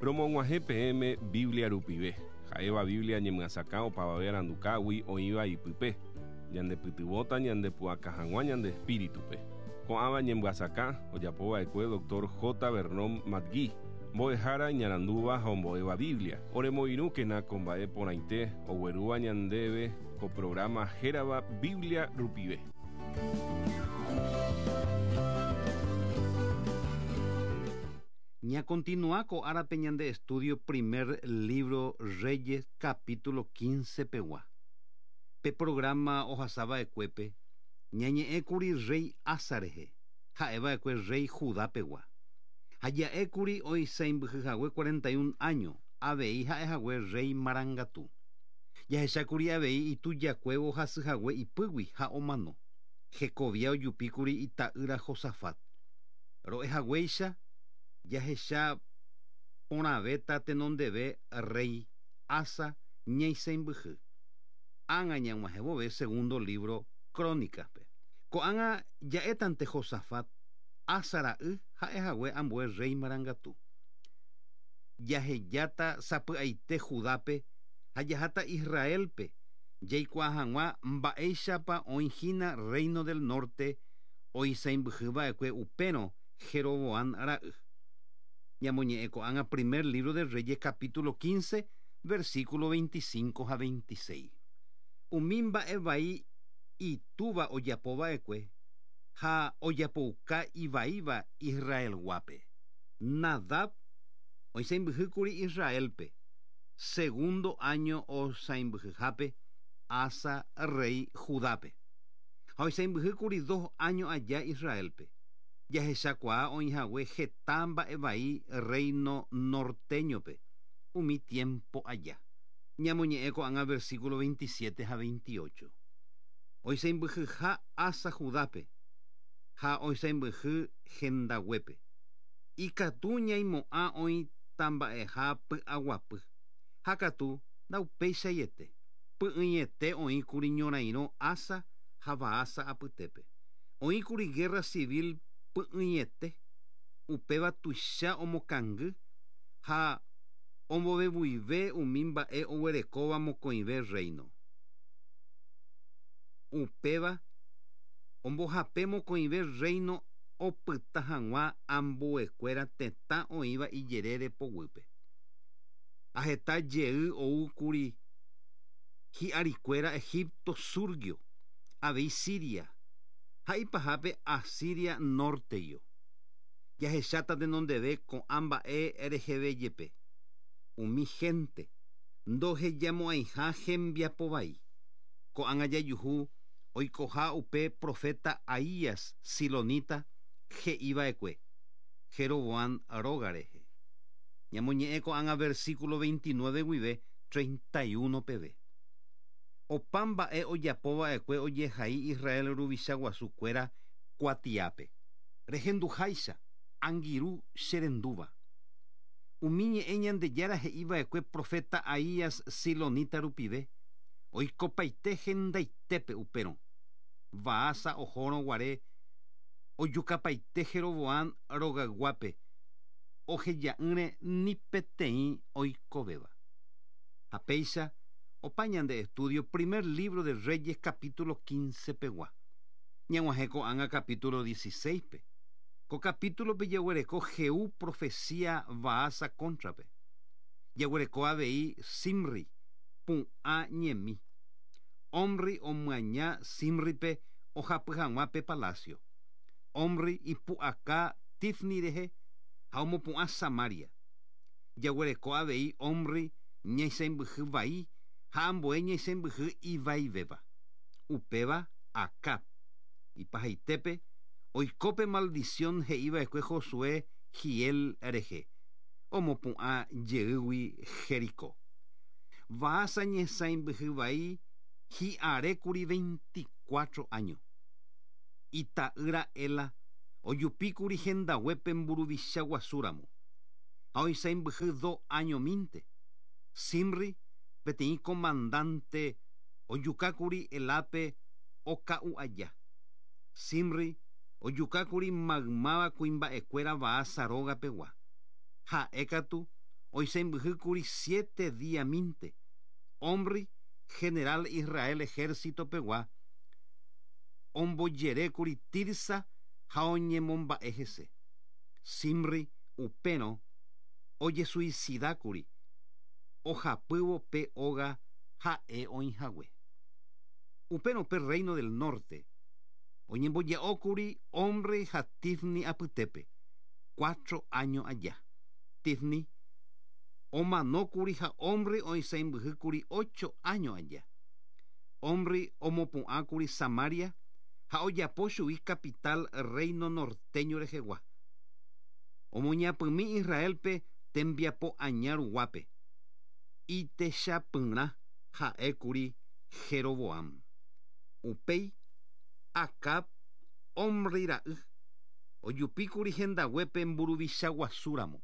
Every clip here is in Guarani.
Romog̃uahẽ peẽme Biblia rupive, ha'éva Biblia ñemyasakã opavave arandukágui oĩva ipype, ñandepytyvõta ñandepu'aka hag̃ua ñande espíritupe. Ko'ãva ñemyasakã ojapova'ekue Doctor J. Vernon McGee, mbo'ehára iñarandúva ha ombo'éva Biblia. Oremoirũkena ko mba'e porãite oguerúva ñandéve ko programa hérava Biblia rupive. Ñakontinua ko árape ñande estudio primer libro Reyes capítulo 15 pegua. Pe programa ohasava'ekuépe ñañe'ẽkuri rey Asa rehe, ha'eva'ekue rey Judá pegua. Ha ja'ékuri oisãimbyhyhague 41 áño, avei ha'ehague rey marangatu. Jahechákuri avei itujakuévo hasyhague ipýgui ha omano. Hekovia ojupíkuri ita'ýra Josafat. Ro'ehaguéicha jahecha porãvéta tenondeve rey Asa ñaisãimbyhy. Ág̃a ñag̃uahẽ vove segundo libro Crónicas-pe. Ko'ág̃a ja'étante Josafat, Asa ra'y ha'ehague ambue rey marangatu. Jahejáta sapy'aite Judápe ha jaháta Israélpe jaikuaa hag̃ua mba'éichapa oĩhína Reino del Norte oisãimbyhyva'ekue upérõ Jeroboán ra'y. Ñamoñe'ẽ ko'ág̃a primer libro de Reyes capítulo 15, versículo 25 ha 26. Umi mba'e vai itúva ojapova'ekue ha ojapouka ivaíva Israelguápe. Nadab oisãimbyhýkuri Israélpe, segundo áño osãimbyhyhápe Asa rey Judápe. Ha oisãimbyhýkuri dos áño aja Israélpe. Jahechakuaa oĩhague heta mba'e vai reino norteño-pe umi tiempo aja. Ñamoñe'ẽ ko'ág̃a versículo 27 ha 28. Oisãimbyhyha Asa Judápe ha oisãimbyhy hendaguépe. Ikatu ñaimo'ã oĩtamba'eha py'aguapy. Ha katu ndaupeichaiete. Py'ỹiete oĩkuri ñorairõ Asa ha Baasa apytépe. Oĩkuri guerra civil py'ỹiete, upéva tuicha omokangy ha ombovevuive umi mba'e oguerekóva mokõive reino. Upéva ombohape mokõive reino opyta hag̃ua ambuekuéra tetã oĩva ijerére poguýpe. Ha heta jey oúkuri hi'arikuéra Egipto súrguio, avei Siria, ha ipahápe Asiria nórteguio. Jahecháta tenondeve ko'ã mba'e reheve jepe, umi hénte ndohejamo'ãiha hembiapo vai. Ko'ág̃a jajuhu oikoha upe proféta Ahías silonita he'iva'ekue Jeroboán róga rehe. Ñamoñe'ẽ ko'ág̃a versículo 29 guive 31 peve. Opa mba'e ojapova'ekue ojehai Israel ruvicha guasu kuéra kuatiápe. Rehenduháicha, angirũ che rendúva. Umi ñe'ẽ Ñandejára he'iva'ekue proféta Ahías silonita rupive, oikopaite hendaitépe upérõ. Baasa ohórõ guare ojukapaite Jeroboán rogayguápe, oheja'ỹre ni peteĩ oikovéva. Ha péicha opa ñande estudio primer libro de Reyes capítulo 15 pegua. Ñag̃uahẽ ko'ág̃a capítulo 16-pe. Ko capítulo-pe jaguereko Jehú profecía Baasa cóntrape. Jaguereko avei Zimri, pu'ã ñemi. Omri omyaña Zimripe ohapy hag̃ua pe palacio. Omri ipu'aka Tifni rehe ha omopu'ã Samaria. Jaguereko avei Omri ñaisãimbyhy vai ha ambue ñaisãimbyhy ivaivéva. Upéva Acab. Ipahaitépe, oiko pe maldición he'iva'ekue Josué Hiel rehe, omopu'ã jeýgui Jericó. Baasa ñesãimbyhy vai hi'arékuri 24 áño. Ita'ýra Ela ojupíkuri hendaguépe mburuvicha guasúramo, ha oisãimbyhy do áñomínte. Zimri, peteĩ komandánte ojukákuri Elápe oka'u aja. Zimri ojukákuri maymáva kuimba'ekuéra Baasa róga pegua. Ha'e katu Oisãmbyhýkuri siete diamínte. Omri, general Israel ejército-pegua, ombojerékuri Tirsa ha oñemomba'e hese. Zimri upérõ ojesuisidákuri ohapývo pe óga ha'e oĩhague. Upérõ pe reino del norte oñemboja'ókuri Omri ha Tifni apytépe, cuatro áño aja. Tifni omanókuri ha Omri oisãimbyhýkuri ocho áño aja. Omri omopu'ãkuri Samaria ha ojapo chugui capital reino norteño rehegua. Omoñapymi Israelpe tembiapo aña ruguápe. Itechapyrã ha'ékuri Jeroboam. Upéi Acab Omri ra'y ojupíkuri hendaguépe mburuvicha guasúramo.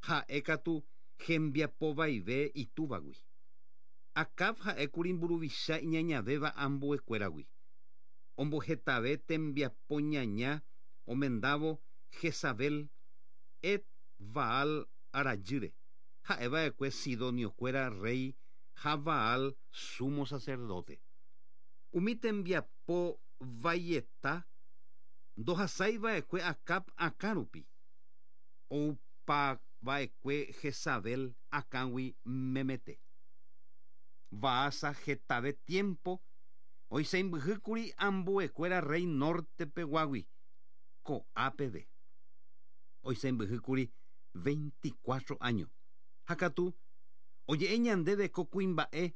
Ha'e katu hembiapovaive itúvagui. Acab ha'ékuri mburuvicha iñañavéva ambuekuéragui. Ombohetave tembiapo ñaña omendávo Jezabel Et Baal rajýre, ha'eva'ekue sidoniokuéra rréi ha Baal sumo sacerdote. Umi tembiapo vaieta ndohasaiva'ekue Acab akã rupi, oupava'ekue Jezabel akãgui memete. Baasa hetave tiempo oisãimbyhýkuri ambuekuéra rréi norte-peguágui, ko'a peve. Oisãimbyhýkuri 24 áño. Ha katu, oje'e ñandéve ko kuimba'e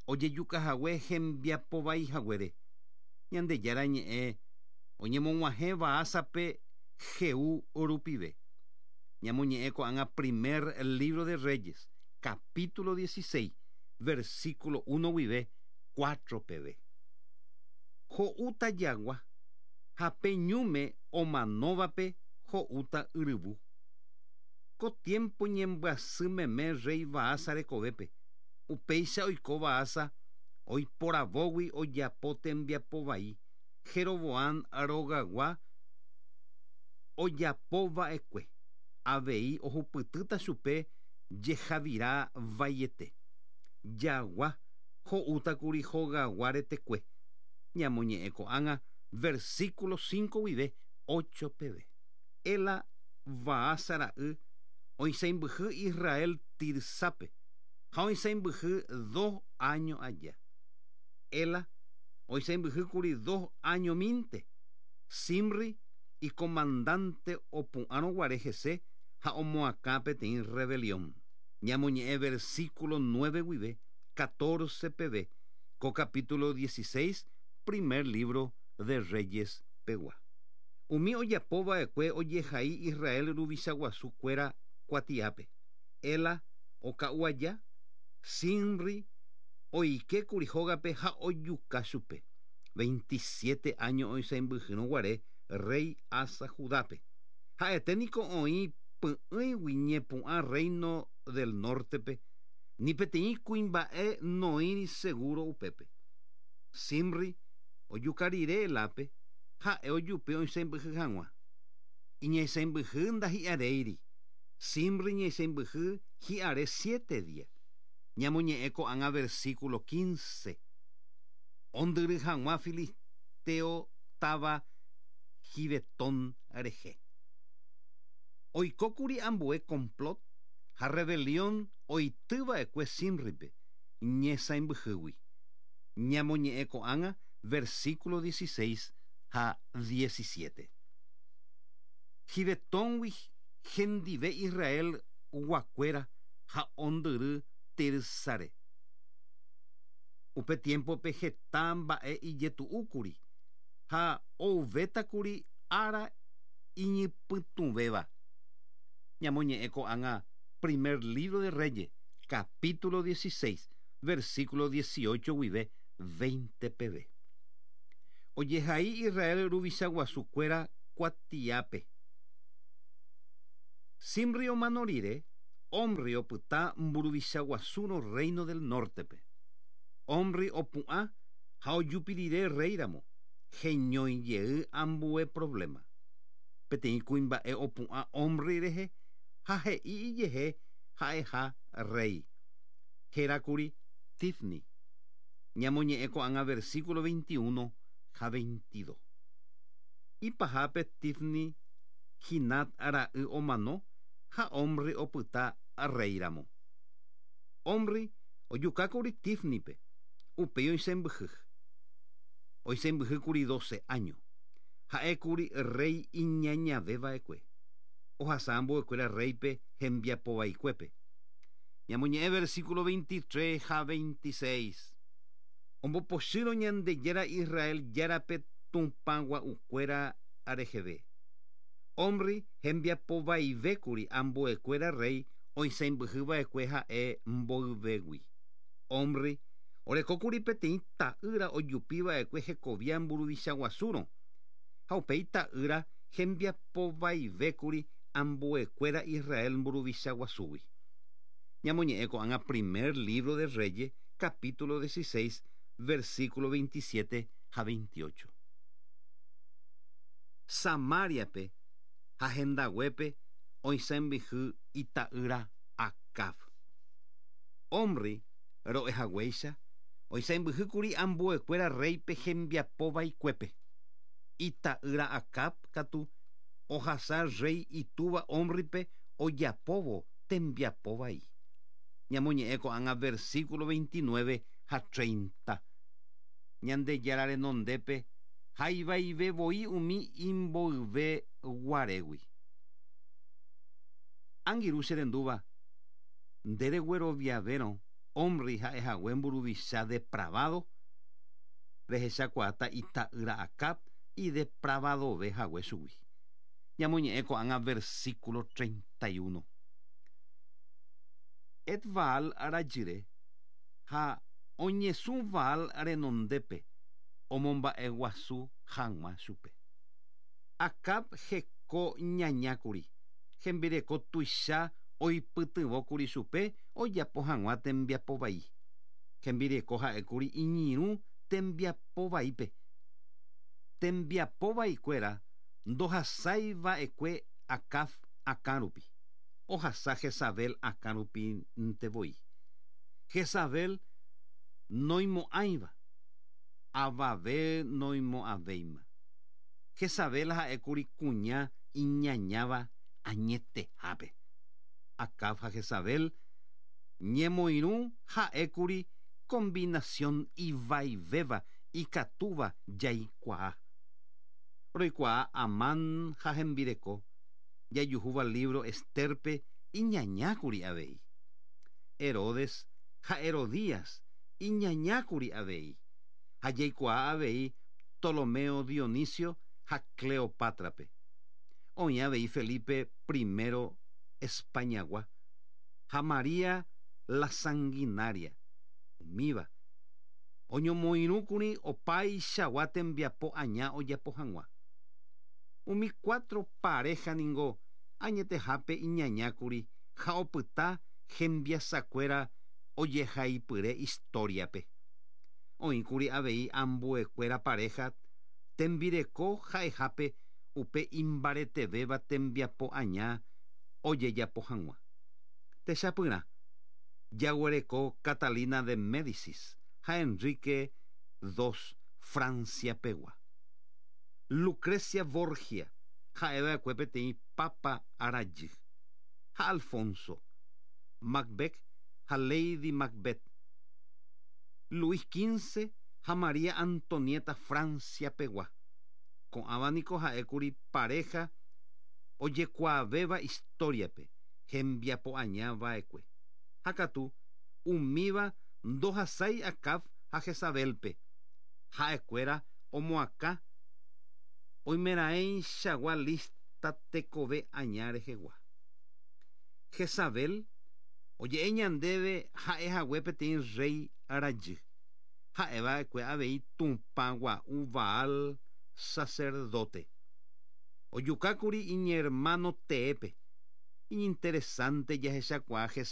ojejukahague hembiapovaihaguére. Ñandejára ñe'ẽ oñemog̃uahẽ Baasape Jehú rupive. Ñamoñe'ẽ ko'ág̃a primer libro de Reyes, capítulo 16, versículo 1 guive 4 peve. Ho'úta jagua ha pe ñúme omanóvape ho'úta yryvu. Ko tiempo ñembyasy meme rréi Baasa rekovépe, upéicha oiko Baasa oiporavógui ojapo tembiapo vai Jeroboam rogagua ojapova'ekue, avei ohupytýta chupe jehavira vaiete. Jagua ho'útakuri hogagua retekue. Ñamoñe'ẽ ko'ág̃a versículo 5 guive 8 peve. Ela Baasa ra'y oisãimbyhy Israel Tirsápe ha oisãimbyhy dos áño aja. Ela oisãimbyhýkuri dos áñomínte. Zimri icomandante opu'ãrõguare hese ha omoakã peteĩ rebelión. Ñamoñe'ẽ versículo 9 guive 14 peve ko capítulo 16 primer libro de Reyes pegua. Umi ojapova'ekue ojehai Israel ruvicha guasukuéra kuatiápe. Ela oka'u aja, Zimri oikékuri hógape ha ojuka chupe. 27 áño oisãimbyhyrõguare rréi Asa Judápe. Ha'ete niko oĩ py'ỹigui ñepu'ã reino del norte-pe, ni peteĩ kuimba'e noĩri seguro upépe. Zimri ojuka rire Elápe, ha'e ojupi oisãimbyhy hag̃ua. Iñaisãimbyhy ndahi'aréiri. Zimri ñaisãimbyhy hi'are siete día. Ñamoñe'ẽ ko'ág̃a versículo 15. Ondyry hag̃ua filisteo táva Gibetón rehe. Oikókuri ambue complot ha rebelión oitýva'ekue Zimripe ñesãimbyhýgui. Ñamoñe'ẽ ko'ág̃a versículo 16 ha 17. Gibetóngui hendive Israel guakuéra ha ondyry Tirsare. Upe tiempo-pe heta mba'e ijetu'úkuri ha ouvétakuri ára iñypytũvéva. Ñamoñe'ẽ ko'ág̃a primer libro de Reyes, capítulo 16, versículo 18 guive 20 peve. Ojehai Israel ruvicha guasukuéra kuatiápe. Zimri omano rire, Omri opyta mburuvicha guasúrõ reino del norte-pe. Omri opu'ã ha ojupi rire rréiramo, heñói jey ambue problema. Peteĩ kuimba'e opu'ã Omri rehe ha he'i ijehe ha'eha rréi. Hérakuri Tifni. Ñamoñe'ẽ ko'ág̃a versículo 21 ha 22. Ipahápe Tifni Ginat ra'y omano ha Omri opyta rréiramo. Omri ojukákuri Tífnipe, upéi oisẽmbyhy. Oisẽmbyhýkuri dóse áño. Ha'ékuri rréi iñañave va'ekue. Ohasa ambuekuéra rréipe hembiapo vaikuépe. Ñamoñe'ẽ versículo 23 ha 26. Ombopochýrõ Ñandejára Israel Járape tupã gua'ukuéra reheve. Omri hembiapo vaivékuri ambuekuéra rréi oisãimbyhy va'ekue ha'e mboyvégui. Omri orekókuri peteĩ ta'ýra ojupi va'ekue hekovia mburuvicha guasúrõ, ha upéi ta'ýra hembiapo vaivékuri ambuekuéra Israel mburuvicha guasúgui. Ñamoñe'ẽ ko'ág̃a Primer lívro de Reyes, capítulo 16, versículo 27 ha 28. Samáriape ha hendaguépe oisãmbyhy ita'ýra Acab. Omri ro'e haguéicha, oisãmbyhýkuri ambuekuéra rréipe hembiapo vaikuépe. Ita'ýra Acab katu ohasa rréi itúva Ómripe ojapóvo tembiapo vai. Ñamoñe'ẽ ko'ág̃a versículo 29 ha 30. Ñandejára renondépe ha ivaive voi umi imboyve guarégui. Angirũ che rendúva, nde regueroviavérõ Omri ha'ehague mburuvicha depravado, rehechakuaáta ita'ýra Acab idepravadove hague chugui. Ñamoñe'ẽ ko'ág̃a versículo 31. Et-Baal rajyre ha oñesũ Baal renondépe omomba'eguasu hag̃ua chupe. Acab heko ñañákuri, hembireko tuicha oipytyvõkuri chupe ojapo hag̃ua tembiapo vai. Hembireko ha'ékuri iñirũ tembiapo vaípe. Tembiapo vaikuéra ndohasái va'ekue Acab akã rupi, ohasa Jezabel akã rupínte voi. Jezabel noimo'ãiva, avave noimo'ãvéima. Jezabel ha'ékuri kuña iñañáva añetehápe. Acab ha Jezabel ñemoirũ ha'ékuri combinación ivaivéva ikatúva jaikuaa. Roikuaa Amán ha hembireko, jajuhúva lívro Estérpe iñañákuri avei. Herodes ha Herodías iñañákuri avei, ha jaikuaa avei Ptolomeo Dionisio ha Cleopátrape. Oĩ avei Felipe primero Españagua ha María la Sanguinaria, umíva oñomoirũkuri opaichagua tembiapo aña ojapo hag̃ua. Umi cuatro paréha ningo añetehápe iñañákuri ha opyta hembiasakuéra ojehaipyre istóriape. Oĩkuri avei ambuekuéra paréha tembireko ha'ehápe upe imbaretevéva tembiapo aña ojejapo hag̃ua. Techapyrã, jaguereko Catalina de Médicis ha Enrique II Francia pegua. Lucrecia Borgia ha'eva'ekue peteĩ pápa rajy, ha Alfonso, Macbeth ha Lady Macbeth, Luis XV ha María Antonieta Francia pegua. Ko'ãva niko ha'ékuri paréha ojekuaavéva istóriape hembiapo aña va'ekue. Ha katu, umíva ndohasái Acab ha Jezabélpe. Ha'ekuéra omoakã oimeraẽichagua lísta tekove aña rehegua. Jezabel oje'e ñandéve ha'ehague peteĩ rréi rajy, ha'eva'ekue avei tupã gua'u Baal saserdóte. Ojukákuri iñermáno teépe. Iñinteresánte jahechakuaa Jezabel.